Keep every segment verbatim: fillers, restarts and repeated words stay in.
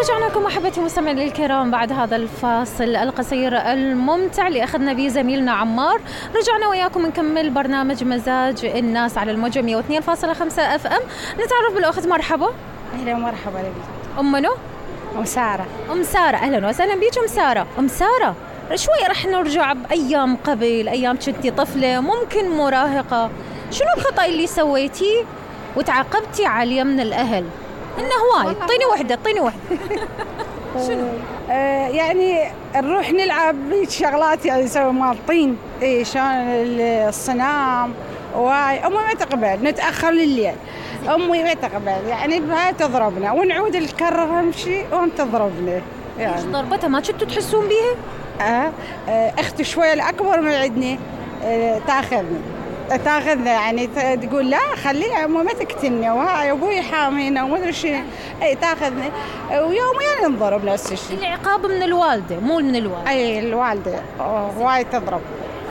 رجعنا لكم أحبتي المستمعين الكرام بعد هذا الفاصل القصير الممتع اللي أخذنا به زميلنا عمار. رجعنا وياكم نكمل برنامج مزاج الناس على الموجة مية واثنين فاصلة خمسة اف ام. نتعرف بالأخت. مرحبا. أهلا ومرحبا لك. أم منو؟ أم سارة. أم سارة، أهلا وسهلا بيك أم سارة. أم سارة شوي رح نرجع بأيام قبل، أيام كنتي طفلة ممكن مراهقة. شنو الخطأ اللي سويتيه وتعاقبتي عليه من الأهل؟ إنه هواي. طيني وحدة طيني وحدة. شنو؟ آه يعني نروح نلعب شغلات يعني نسوي مال طين، إيه شلون الصنام واي. أمي ما تقبل نتأخر لليل، أمي ما تقبل يعني بها تضربنا ونعود نكرر نمشي وهم تضربنا. يعني ايش ضربتها ما كنتوا تحسون بيها؟ آه, آه أختي شوية الأكبر من عندنا آه تاخذنا تاخذنا يعني تقول لا خليها أمي ما تقتلني وهاي أبوي حامينا وما أدري شنو. أي تاخذنا ويوميا نضرب نفس الشيء. العقاب من الوالدة مو من الوالد. أي الوالدة وايد تضرب.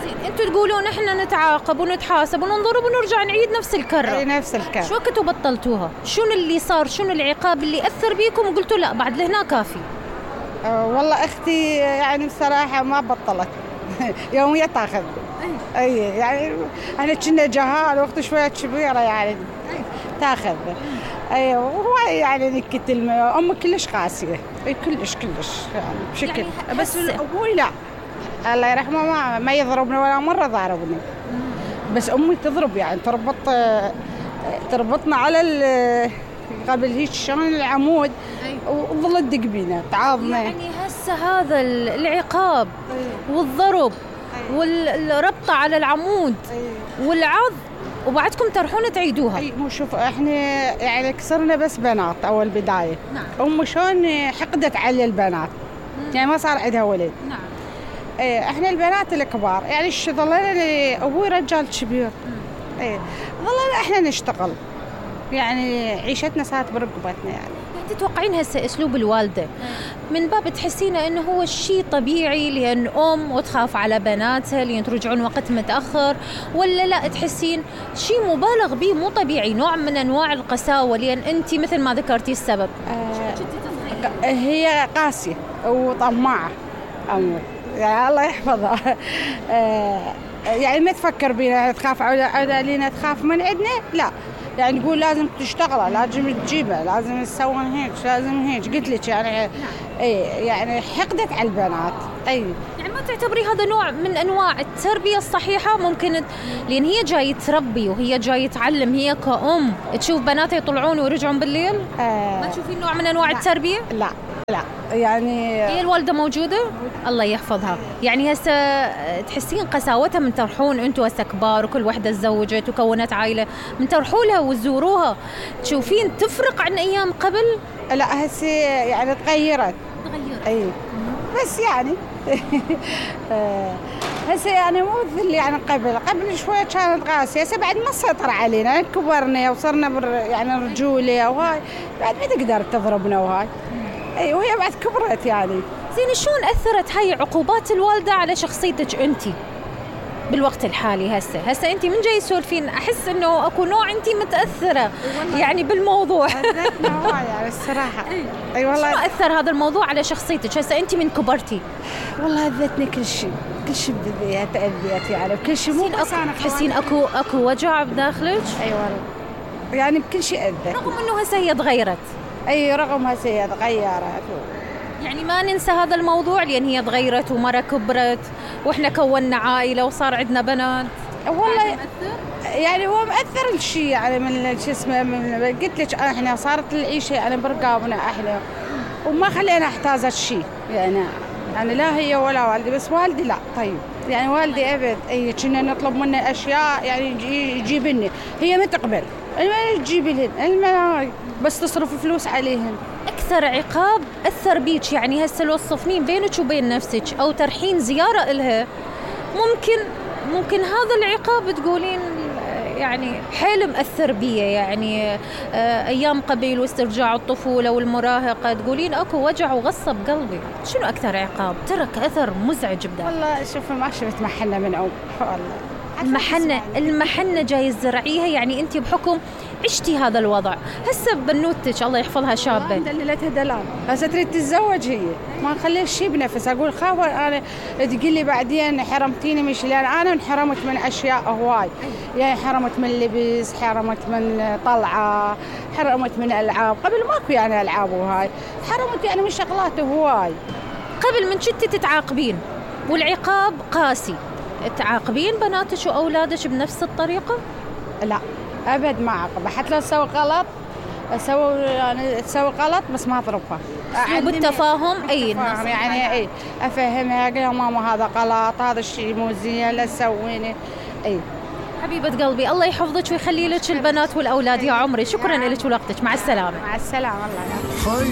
زين انتوا تقولون احنا نتعاقب ونتحاسب وننضرب ونرجع نعيد نفس الكرة. أي نفس الكرة. شو وقت بطلتوها؟ شنو اللي صار؟ شنو العقاب اللي أثر بيكم وقلتوا لا بعد لهنا كافي؟ أه والله أختي يعني بصراحة ما بطلت يوميا تاخذ. أي يعني احنا كنا جهال وقت شوية كبيرة يعني تاخذ. أي وهاي يعني نكتل. أمي كلش قاسية، أي كلش كلش يعني بشكل يعني بس أبوي لا الله يرحمه ما ما يضربنا ولا مرة ضربني. بس أمي تضرب يعني تربط تربطنا على قبل هيك شلون العمود وظلت تدق بينا تعاضنا. يعني هسه هذا العقاب والضرب والربطة على العمود والعض وبعدكم تروحون تعيدوها. اي مو شوف احنا يعني كسرنا بس بنات اول بداية. نعم. أم شلون حقدت على البنات. مم. يعني ما صار عندها ولد. نعم. ايه احنا البنات الكبار يعني ايش ظلنا ابوي رجال كبير. ايه ظلنا احنا نشتغل يعني عيشتنا صارت برقبتنا يعني. تتوقعين هسه اسلوب الوالده من باب تحسينه انه هو الشيء طبيعي لان ام وتخاف على بناتها لان ترجعون وقت متاخر، ولا لا تحسين شيء مبالغ به مو طبيعي نوع من انواع القساوه لان انت مثل ما ذكرتي السبب؟ آه هي قاسيه وطماعه امي يعني الله يحفظها. آه يعني ما تفكر بينا تخاف علينا تخاف من عندنا لا يعني نقول لازم تشتغل لازم تجيبها لازم تسوون هيك لازم هيك قلت لك يعني اي يعني حقدت على البنات. اي يعني ما تعتبري هذا نوع من انواع التربيه الصحيحه؟ ممكن لان هي جاي تربي وهي جاي تعلم، هي كأم تشوف بناتها يطلعون ويرجعون بالليل. آه ما تشوفين نوع من انواع لا. التربيه؟ لا لا يعني هي الوالده موجوده الله يحفظها. يعني هسه تحسين قساوتها من تروحون انتم هسه كبار وكل وحده تزوجت وكونت عائله من تروحوا لها وتزوروها تشوفين تفرق عن ايام قبل؟ لا هسه يعني تغيرت تغيرت اي بس يعني هسه يعني مو مثل يعني قبل قبل شويه كانت قاسيه هسه بعد ما سيطر علينا كبرنا وصرنا بر يعني رجوله وهاي بعد ما تقدر تضربنا وهاي. اي وهي بعد كبرت يعني. زين شلون اثرت هاي عقوبات الوالده على شخصيتك انتي بالوقت الحالي؟ هسه هسه انتي من جاي تسولفين احس انه اكو نوع انتي متاثره يعني بالموضوع. اذتنا هواي يعني الصراحه. اي والله. شلون اثر هذا الموضوع على شخصيتك هسه انتي من كبرتي؟ والله اذتني كل شيء كل شيء بدي تاذيت يعني بكل شيء مو بس انا تحسين اكو اكو وجع بداخلك؟ اي والله يعني بكل شيء اذت رغم انه هسه هي تغيرت. اي رغم هسه هي تغيرت يعني ما ننسى هذا الموضوع لأن هي تغيرت ومرة كبرت وإحنا كونا عائلة وصار عندنا بنات. والله يعني هو مأثر الشيء يعني من شو اسمه من قلت لك احنا صارت العيشة يعني برقابنا احنا وما خلينا احتاجت شيء يعني يعني لا هي ولا والدي بس والدي لا طيب يعني والدي ابد اي كنا نطلب منه اشياء يعني يجيب لنا هي ما تقبل ما تجيب لنا بس تصرف فلوس عليهم. أكثر عقاب أثر بيك يعني هسه لو تصفنين بينك وبين نفسك أو ترحين زيارة إلها ممكن ممكن هذا العقاب تقولين يعني حيل مأثر بيه يعني آه أيام قبل واسترجاع الطفولة والمراهقة تقولين أكو وجع وغصة بقلبي. شنو أكثر عقاب ترك أثر مزعج بداخل؟ والله شوف ما شفت محنة من أم والله المحنة المحنة جاي تزرعيها يعني أنت بحكم عشتي هذا الوضع. هسه بنوتك الله يحفظها شابة دللتها دلال، هسه تريد تتزوج هي، ما نخليها شيء بنفس. اقول خاوه انا تقول لي بعدين حرمتيني مش لان انا انحرمت من اشياء هواي، يعني حرمت من لبس، حرمت من طلعه، حرمت من العاب، قبل ماكو يعني العاب وهاي، حرمت يعني من شغلات هواي. قبل من كنتي تتعاقبين والعقاب قاسي، تعاقبين بناتك واولادك بنفس الطريقة؟ لا ابد ما اعاقب، حتى لو تسوي غلط اسوي يعني تسوي غلط بس ما اضربها. بالتفاهم. اي يعني اي افهمها، اقول لها ماما هذا غلط، هذا الشيء مو زين، لا تسويني. اي حبيبة قلبي الله يحفظك ويخلي لك البنات والاولاد يا عمري. شكرا لك ولوقتك، مع السلامة. مع السلامة الله يعافيك.